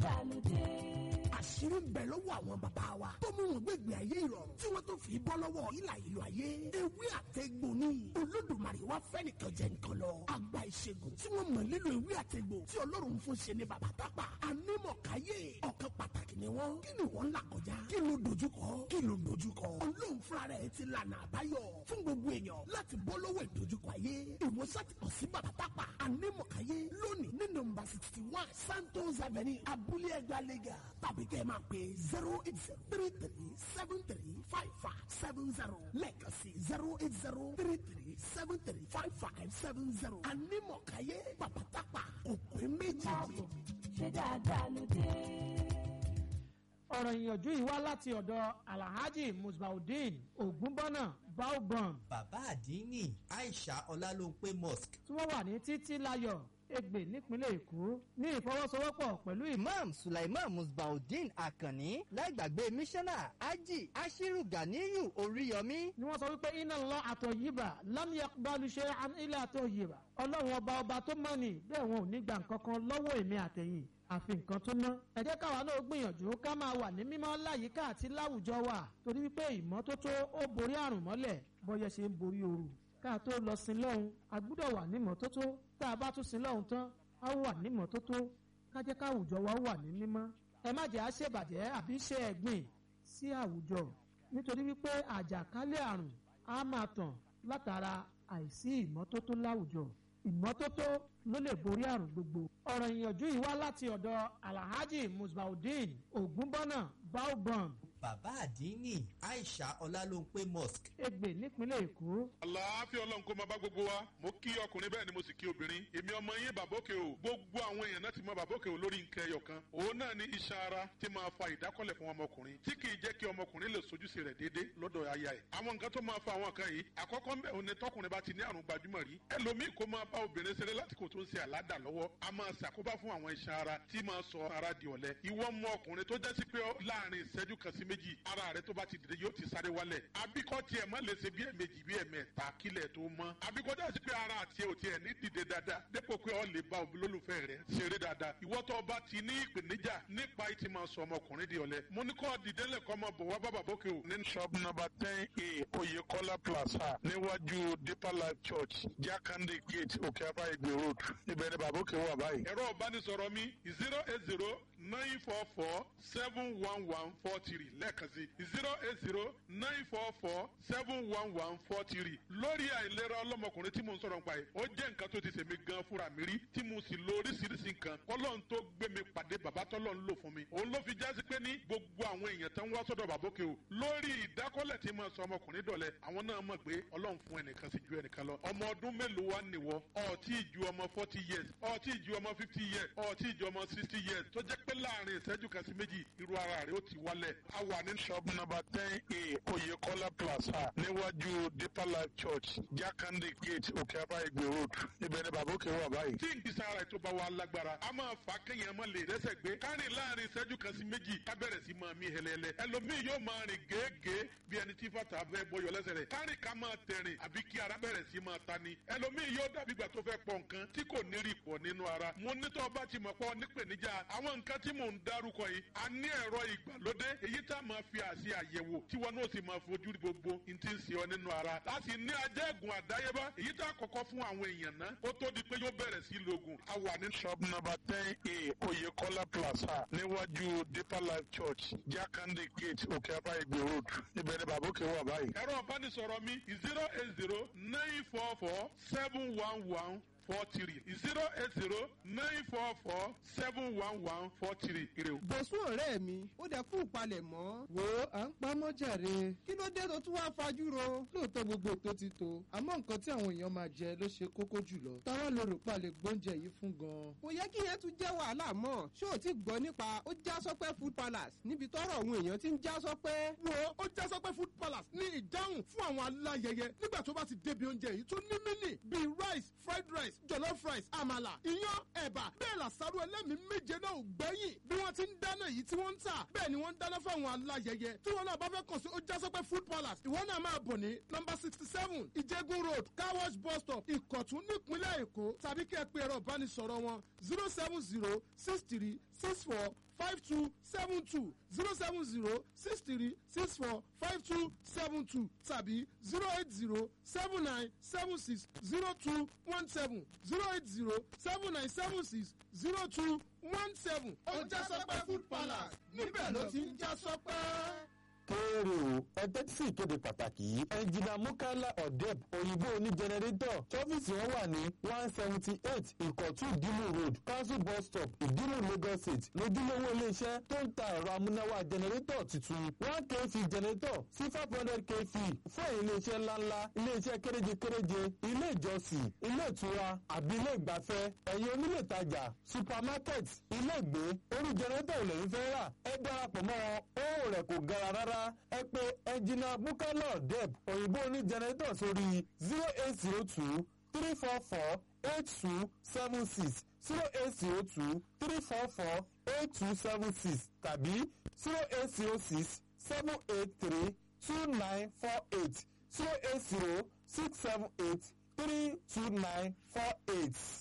dáadáa ló dé. Àṣírí ń bẹ lọ́wọ́ àwọn bàbá wa tó mú wọn gbégbé ayé ìrọ̀rùn tí wọ́n tó fi bọ́ lọ́wọ́ ìlà ìlú ayé. Ewé àtẹ̀gbò ni Olódùmarè wá fẹ́ nìkan jẹ nǹkan lọ. Àgbà ìṣègùn tí wọ́n mọ̀ nílò ewé àtẹ̀gbò tí Ọlọ́run fún ṣe ni bàbá tápà. Anímọ̀káyé ọ̀kan pàtàkì ni wọ́n. Kí ni wọ́n ń là kọjá? Kí ló dojúkọ? Kí ló dojúkọ? Ọlọ́run fúnra rẹ̀ ti lànà àbáyọ fún gbogbo èèyàn láti bọ́ lọ́wọ́ ìdojúkọ ayé. Ìwòsàn ti kàn sí bàbá tápà. Anímọ̀káyé lónìí ní nọ́mbà 61 Santos Avenue, Abúlé Ẹgbà Lagos, tàbí kẹ́ ẹ máa pè 08033735570 lẹ́ẹ̀kan sí 08033735570. Anímọ̀káyé bàbá tápà òpin méjì. Káàbọ̀, ṣe dáadáa ló dé. Ọ̀rọ̀ ìyànjú yìí wá láti ọ̀dọ̀ Alhaji Musbaudeen Ògúnbọ́nà Baobon. Bàbá àdínní Aisha Ọlálóńpé Mosque. Tí wọ́n wà ní Títí Láyọ̀ Ègbè nípínlẹ̀ Èkó ní ìfọwọ́sowọ́pọ̀ pẹ̀lú Imam Sulaiman Musbaudeen Akànní, láìgbàgbé mísánná Ají Ashiru Ganiyu Oríyọmí. Ni wọ́n sọ wípé iná lọ àtọ̀ yìíbà lámìyàgbálù ṣe ilé àtọ̀ yìíbà, Ọlọ́run ọba ọba tó mọ̀ ní bẹ́ẹ̀, wọn ò ní gba nǹkan kan lọ́wọ́ èmi àtẹ̀yìn àfi nǹkan tó ná. Ẹ jẹ́ káwa náà gbìyànjú ká máa wà ní mímọ́ láyìíká àti láwùjọ wa, torí wípé ìmọ́tótó ó borí àrùn mọ́lẹ̀ bọ́yẹ ṣe ń borí ooru. Ká tó lọ sin lọ́hùn, a gbúdọ̀ wà ní mọ́tótó. Tá a bá tún sin lọ́hùn tán, a wà ní mọ́tótó. Ká jẹ́ káwùjọ wa wà ní mímọ́. Ẹ má jẹ́ á ṣèbàjẹ́ àbí ṣe ẹ̀gbìn sí àwùjọ, nítorí wípé àjàkálẹ̀ àrùn á máa tàn látara àìsí ìmọ́tótó láwùjọ. Ìmọ́tótó ló lè borí àrùn gbogbo. Ọ̀rọ̀ ìyànjú yìí wá láti ọ̀dọ̀ Alhaji Musbaudeen Ògúnbọ́nà Baobon. Bàbá àdínní Aisha Ọlálóńpé Mosque. Ègbè nípínlẹ̀ Èkó. Àlàáfíà Ọlọ́run kó máa bá gbogbo wa. Mo kí ọkùnrin, bẹ́ẹ̀ ni mo sì kí obìnrin. Èmi ọmọ yín Bàbókè o. Gbogbo àwọn èèyàn náà ti mọ Bàbókè o lórí nǹkan ẹyọ kan. Òun náà ni iṣan ara tí máa fa ìdákọ́lẹ̀ fún ọmọkùnrin tí kì í jẹ́ kí ọmọkùnrin lè sojúṣe rẹ̀ déédéé lọ́dọ̀ aya ẹ̀. Àwọn nǹkan tó máa fa àwọn nǹkan yìí, àkọ́kọ́ ńbẹ̀ òun ni tọkùnrin bá ti ní àrùn gbajúmọ̀ rí. Ẹlòmíì kó máa bá obìnrin ṣeré lásìkò tó ń ṣe àládà lọ́wọ́, a máa ṣàkóbá fún àwọn iṣan ara tí máa sọ ara di ọ̀lẹ. Ìwọ ọmọ ọkùnrin tó jẹ́ sí pé láàrin ìṣẹ́jú kan sí méjì, ara rẹ tó bá ti dìde yóò ti sáré wálẹ̀. Abíkọ́ tiẹ̀ má lè ṣe bí ẹ̀mejì, bí ẹ̀mẹ́ta kílẹ̀ tó mọ́. Abíkọ́ dá sí pé ara àti ẹ̀ ò tiẹ̀ ní dìde dáadáa dépò pé ọ lè bá olólùfẹ́ rẹ ṣeré dáadáa. Ìwọ tó bá ti ní ìpèníjà nípa ìtì máa sọ ọmọkùnrin di ọ̀lẹ, mo ní kọ́ dìde lẹ́kọ́ máa bọ̀ wá bá Bàbókè o. Ní shop number 10A, Oyekola Plaza, níwájú Deeper Life Church, Jakande Gate, Òkè Afá, Ìgbè Road, ibẹ̀ ni Bàbókè wà báyìí. Ẹ̀rọ ìbánisọ̀rọ̀ mi 08094471143, lẹ́ẹ̀kan sí 08094471143. Lórí àìlera ọlọ́mọkùnrin tí mo ń sọ̀rọ̀ nípa yìí, ó jẹ́ nǹkan tó ti ṣèmi gan fúnra mi rí tí mo sì lo oríṣiríṣi nǹkan kọ́lọ́n tó gbé mi pàdé bàbá tọ́lọ́ ń lò fún mi. Òun ló fi jásí pé ní gbogbo àwọn èèyàn tó ń wá sọ́dọ̀ Bàbókè o lórí ìdákọ́lẹ̀ tí mo sọ ọmọkùnrin dọ̀lẹ́, àwọn náà mọ̀ pé Ọlọ́run fún ẹnìkan sí ju ẹnìkan lọ. Ọmọ ọdún mélòó wá nìwọ? Ọtí ju ọmọ 40 years, ọtí ju ọmọ 50 years, ọtí ju ọmọ 60 years, tó jẹ́ pé láàrin ìṣẹ́jú kan sí méjì, irú ara rẹ̀ ó ti wálẹ̀. A wà ní shop number 10A, Oyekola Plaza, níwájú Deeper Life Church, Jakande Gate, Òkè Afá, Ìgbè Road, ibẹ̀ ni Bàbókè wà báyìí. Tí n kìsà ara ètò bá wa lágbára, a máa fà kéèyàn má lè rẹ́sẹ̀ gbé kárìn láàrin ìṣẹ́jú kan sí méjì, ká bẹ̀rẹ̀ sí máa mí hẹlẹ́hẹlẹ́. Ẹlòmíì yóò máa rìn gèégèé bí ẹni tí fàtà fẹ́ bọyọ̀ lẹ́sẹ̀ rẹ̀, kárìn ká máa tẹ̀rìn àbí kí ara bẹ̀rẹ̀ sí máa ta ni. Ẹlòmíì yóò dàbí ìgbà tó fẹ́ pọ̀ nǹkan tí kò ní rí pọ̀ nínú ara. Mo ní tó bá ti mọ̀ pọ̀ nípèníjà àwọn nǹkan tí mò ń dárúkọ yìí, a ní ẹ̀rọ ìgbàlódé èyí tá a máa fi àṣe àyẹ̀wò tí wọn náà sì máa fojú rí gbogbo n ti ń ṣe ọ nínú ara. Láti ní ajẹ́gùn àdáyébá èyí tá a kọ́kọ́ fún àwọn èèyàn náà kó tó di pé yóò bẹ̀rẹ̀ sí lògùn. A wà ní shop number 10A, Oyekola Plaza, níwájú Deeper Life Church, Jakande Gate, Òkè Afá, Ìgbè Road, ibẹ̀ ni Bàbókè wà báyìí. Ẹ̀rọ ìbánisọ̀rọ̀ mi 08094471143, 08094471143. Ire o. Bọ̀sùn ọ̀rẹ́ mi, ó dẹ kú palẹ̀ mọ́. Wo, à ń pamọ́ jàre. Kí ló dé tó tún wá fajúro? Lóòótọ́ gbogbo ètò ti tó, àmọ́ nǹkan tí àwọn èèyàn máa jẹ ló ṣe kókó jùlọ. Táwa ló rò pa lè gbóúnjẹ yìí fún gan-an? Kò yẹ kí yẹn tún jẹ́ wàhálà mọ́. Ṣé o ti gbọ́ nípa ó já sọ́pẹ́ Food Palace níbi tọ́rọ̀ àwọn èèyàn ti ń já sọ́pẹ́? Wo, ó já sọ́pẹ́ Food Palace ní ìdáhùn fún àwọn aláyẹyẹ nígbà tó bá ti débi oúnjẹ yìí tó ní mí bíi rice, fried rice, jollof rice, àmàlà, iyán, ẹ̀bà, bẹ́ẹ̀ làṣàrò ẹlẹ́mìí méje náà ò gbẹ́yìn. Bí wọ́n ti ń dáná yìí tí wọ́n ń tà, bẹ́ẹ̀ ni wọ́n ń dáná fáwọn aláyẹyẹ. Tí wọ́n náà bá fẹ́ kàn sí Ojásọ́pẹ́ Food Palace, ìwọ náà máa bọ̀ ní nọ́mbà 67, Ìjẹ́gun Road, Car Wash bus stop, Ìkọ̀tún, nípínlẹ̀ Èkó, tàbí kí ẹ pe ẹ̀rọ ìbánisọ̀rọ̀ wọn 07063 64 52 72, 070 63 64 52 72 tàbí 080 79 76 02 17, 080 79 76 02 17. Ó já sọpẹ́ food palace, níbẹ̀ ló ti ń já sọpẹ́. Kéré o, ẹ tẹ́tí sí ìkéde pàtàkì yìí. Ẹnjìnà Mukala Odeb, òyìnbó oní jẹnẹrétọ̀, tọ́fíìsì wọn wà ní 178 Ìkọ̀tún Ìdímù Road, Council Bus Stop, Ìdímù, Lagos State. Lójúlówó iléeṣẹ́ tó ń ta ẹ̀rọ amúnáwá jẹnẹrétọ̀ tuntun, 1 kV jẹnẹrétọ̀ sí 500 kV, fún ẹ̀yin iléeṣẹ́ ńláńlá, iléeṣẹ́ kéréje kéréje, ilé ìjọsìn, ilé ìtura àbí ilé ìgbafẹ́, ẹ̀yin onílé ìtajà, supermarket, ilé ìgbé, orí jẹnẹrétọ̀ ò lẹ́yìn fẹ́ rà, ẹ darapọ̀ mọ́ wọn, owó rẹ̀ kò gara rárá. Ẹ pè ẹnjìnà Bukala Odeb, òyìnbó oní jẹnẹrétọ̀, sórí 0802 344 8276, 0802 344 8276 tàbí 0806 783 2948, 0806 783 2948.